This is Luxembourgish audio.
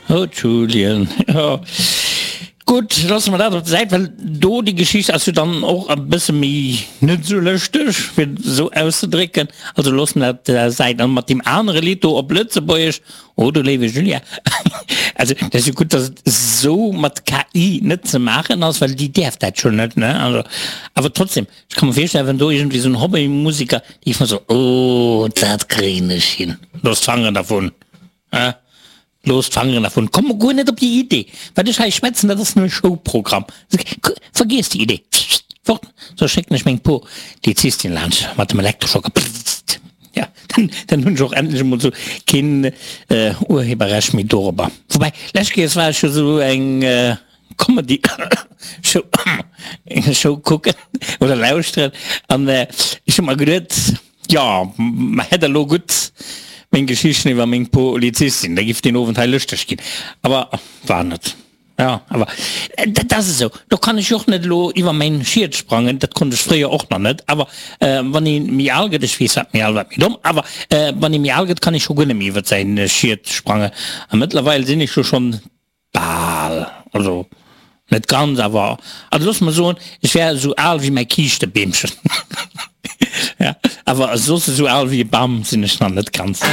Oh Julien, jo. Gutt, loosse mer dat op der Säit, well do déi Geschicht ass jo dann och e bësse méi net esou lëschteg, fir et esou auszedrécken. Also loosse mer dat op der Säit. An mat deem anere Lidd do op Lëtzebuergesch, oh du léiwe Julia, also dat ass jo gutt, datt et esou mat KI net ze maachen ass, well déi däerf dat jo net, ne? Also, awer trotzdem, ech ka mer virstellen, wann do iergendwéi esou en Hobbymusiker, déi géif mer soen, oh dat kréien ech hin, looss d'Fangeren dervun, hein? Looss d'Fangeren dervun. Komm guer net op déi Idee. Wat ech hei schwätzen, dat ass nëmme Showprogramm. Vergiess déi Idee. Fort, soss schécken ech meng Polizistin laanscht mat dem Elektroschocker. Ja, dann hunn ech och endlech emol esou keen Urheberrecht méi dorobber. Woubäi, lescht Kéiers war ech jo esou eng Comedy Show Show kucken oder lauschteren an ech hu mer geduet, jo, mer hätt elo gutt meng Geschichten iwwer meng Polizistin, da giff deen Owend hei lëschteg ginn. Awer war net. Jo, awer dat ass esou, do kann ech jo och net elo iwwer mäin Schiet sprangen, dat konnt ech fréier och nach net. Awer wann ee méi al gëtt, ech weess wat méi al, wat méi domm, awer wann ee méi al gëtt, kann ee scho guer net méi iwwer säin Schiet sprangen. A mëttlerweil sinn ech jo schonn Bal, also net ganz, awer also looss mer soen, ech wär esou al wéi mäi Kiischtebeemchen. Ja, awer soss esou al wéi e Bam sinn ech nach net ganz.